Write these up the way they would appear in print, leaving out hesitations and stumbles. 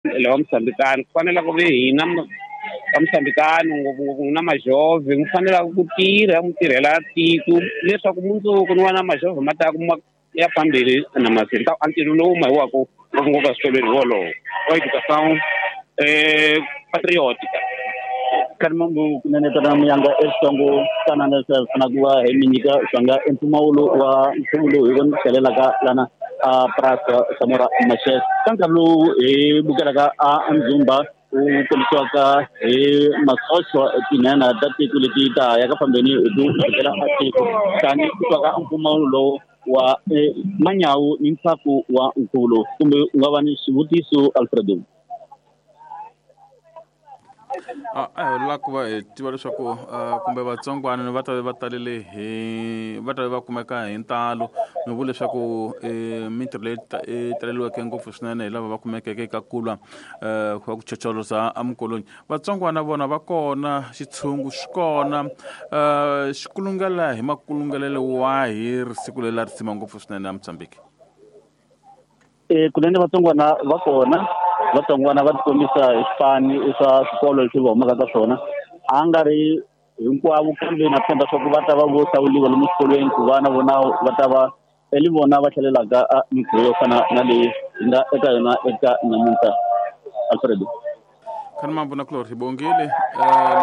Lava Mosambikani ku fanele ku ve hina va Mosambikani, ngopfungopfu na majove, mi fanelaka ku tirha mi tirhela tiko leswaku mundzuku ni wa na majove ma ta kuma ya phambili na masini ta a ntirho lowu mahiwaka ngopfungopfu eswikolweni wolowo wa educação patriótica. Khalimambu kunene tana muyanga exitsongo fana na leswi fana ku va hi mi nyika swanga empfumawulo wa nkhuvo lowu hi vona tlhelelaka lana a Praça Samora Machel ka nkarhi lowu hi bukelaka a ndzumba wu kombisiwaka hi masochwa tinhenha ta tiko leti ta ya ka fambeni hi ku bukela a tiko tani ku twaka mpfumawulo lowu wa manyawu ni ntshaku wa nkhuvo lowu kumbe u nga va ni xivutiso, Alfredo. A hi lava ku va hi tiva leswaku kumbe vatsongwana va ta va talele hi va ta va kumeka hi ntalo. Mi vula leswaku mintirho leyi taleliweke ngopfu swinene hi lava va kumekeke eka kulwa va ku chocholoza emikolweni. Vatsongwana vona va kona, xitshungu xi kona, xi kulungela hi makulungelelo wahi risiku leri la risima ngopfu swinene a Mozambique? Kunene vatsongwana va kona, vatsongwana va tikombisa hi swipani swa swikolo leswi va humaka ka swona. A nga ri hinkwavo, kambe na tshemba swa ku va ta va vo hlawuriwa lomu swikolweni ku va na vona va ta va eli vona va tlhelelaka a mintirho yo fana na leyi hi nga eka yona eka namuntlha, Alfredo. Khani mavona kulorhi bongile.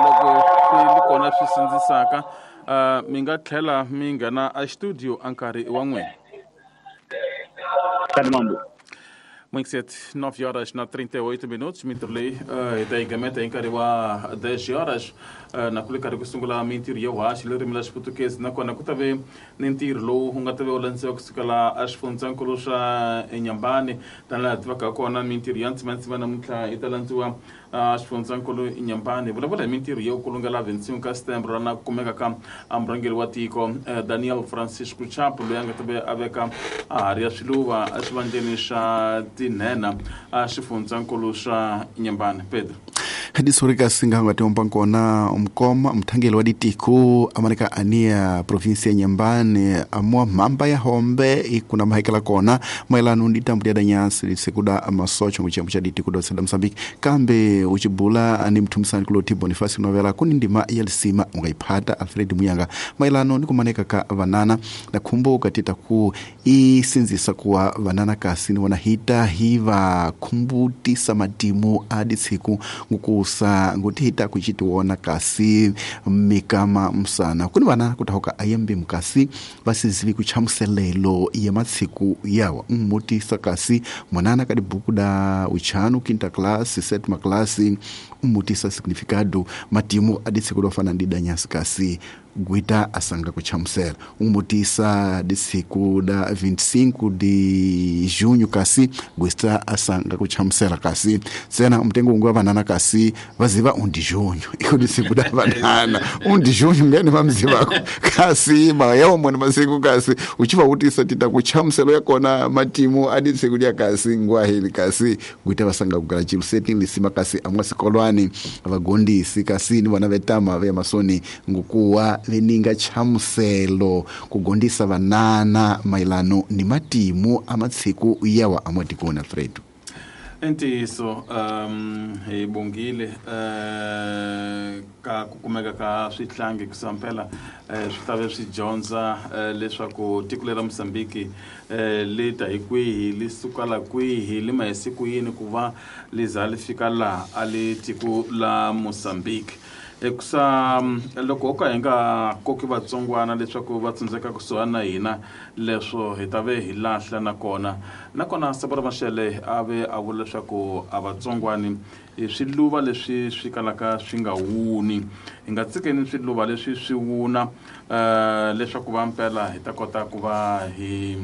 Loko swi li kona swi sindzisaka, mi nga tlhela mi nghena a studio a nkarhi wa n'wina. Khani mambo. Muito cedo, 9 horas na 38 minutos, mintirho leyi hi ta yi gameta hi nkarhi wa 10 horas, na ku le karhi ku sungula mintirho yo haxa ririmi la Xiputukezi, nakona ku ta ve ni ntirho lowu wu nga ta ve wu landziwa kusukela a xifundzankulu xa Inhambane. Tani laha tivaka kona, mintirho ya ntsimantsima namuntlha yi ta landziwa a xifundzankulu Inhambane. Hi vulavula hi mintirho yo kulungela 25 ka setembro na ku kumeka ka murhangeri wa tiko Daniel Francisco Chapo, loyi a nga ta ve a veka a hari ya swiluva exivandleni xa tinhenha a xifundzankulu xa Inhambane. Pedro. Disorika singa nga tiomba nkona mkoma mthangeli wa ditiko amaneka ania provinsia ya Nyambane amua mamba ya hombe ikuna mahekela kona maelano ndi tambu lya danyasi lisekuda masocho nguchiyambo cha ditiko do sada Mozambique kambe uchibula ni mthumisani kuloti Boniface Novela kuni ndima ya lisima ungaiphata Alfred Muyanga maelano ni kumaneka ka vanana na khumbuka tita ku isinzisa kuwa vanana kasi ni wanahita hiva khumbutisa matimu a ditsiku ngukusa ngutihita kuchitiwona kasi mikama msana kuni vana kutahoka ayembe mukasi vasizivi kuchamuselelo ya matsiku yawa mmutisa kasi mwanana kadi buku da uchanu quinta classe sétima classe mmutisa significado matimu aditsiku dofana ndi danyasi kasi gwita asanga kuchamusela umutisa disiku da 25 de junho kasi gwita asanga kuchamusela kasi sena mtengo ungu wa vanana kasi vaziva undi junho iko disiku da vanana undi junho ngene vamzivako kasi mayawo mwene masiku kasi uchivautisa tita kuchamuselo yakona matimu adisiku lya kasi ngwahili kasi gwita vasanga kugala chilu seti lisima kasi amwa sikolwani vagondisi kasi ni vana vetama ve masoni ngukuwa veninga chamuselo kugondisa vanana mailano ni matimu amatsiku yawa amwatikoni, Alfredo. I ntiyiso, hi bongile ka ku kumeka ka swihlangi kusampela swi ta ve swi dyondza leswaku tiko leri ra Mozambique li ta hi kwihi, li sukala kwihi, li ma hi ku yini ku va li za li fika laha a li tiko la Mozambique. Hikusa loko ho ka hi nga koki vatsongwana leswaku va tsandzeka kusuhani na hina, leswo hi ta ve hi lahla. Nakona Sabora Mashele a ve a vula leswaku a vatsongwani i swiluva leswi swi kalaka swi nga wuni. Hi nga tsikeni swiluva leswi swi wuna leswaku va mpela hi ta kota ku va hi